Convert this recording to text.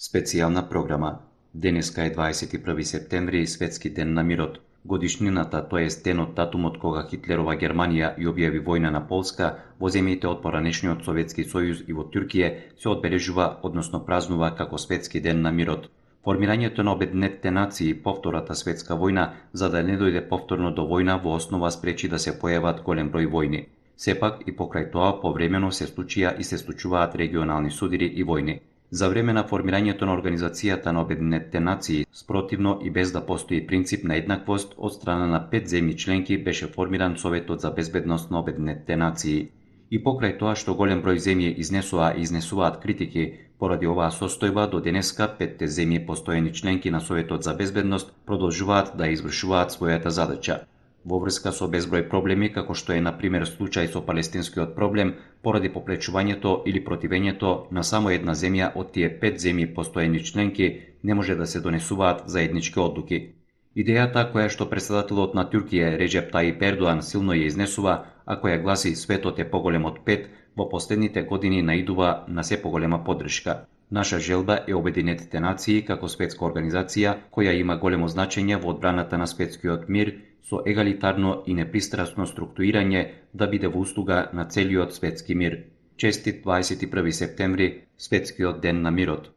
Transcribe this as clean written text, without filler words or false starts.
Специјална програма. Денеска е 21 септември, Светски ден на мирот. Годишнината, тоест денот датумот кога Хитлерова Германија ја објави војна на Полска, во земјите од поранешниот Советски сојуз и во Туркија се одбележува, односно празнува како Светски ден на мирот. Формирањето на Обединетите нации, повтората светска војна, за да не дојде повторно до војна, во основа спречи да се појават голем број војни. Сепак и покрај тоа повремено се случија и се случуваат регионални судири и војни. За време на формирањето на Организацијата на Обединетите нации, спротивно и без да постои принцип на еднаквост, од страна на 5 земји членки беше формиран Советот за безбедност на Обединетите нации. И покрај тоа што голем број земји изнесува и изнесуваат критики, поради оваа состојба до денеска 5 земји постојани членки на Советот за безбедност продолжуваат да извршуваат својата задача. Во врска со безброј проблеми, како што е на пример случај со палестинскиот проблем, поради попречувањето или противењето на само една земја од тие 5 земји постојани членки, не може да се донесуваат заеднички одлуки. Идејата која што претседателот на Туркија Реджеп Таип Ердоан силно ја изнесува, а која гласи светот е поголем од 5, во последните години наидува на се поголема поддршка. Наша желба е Обединетите нации како светска организација која има големо значење во одбраната на светскиот мир со егалитарно и непристрасно структурирање да биде во услуга на целиот светски мир. Честит 21 септември, Светскиот ден на мирот.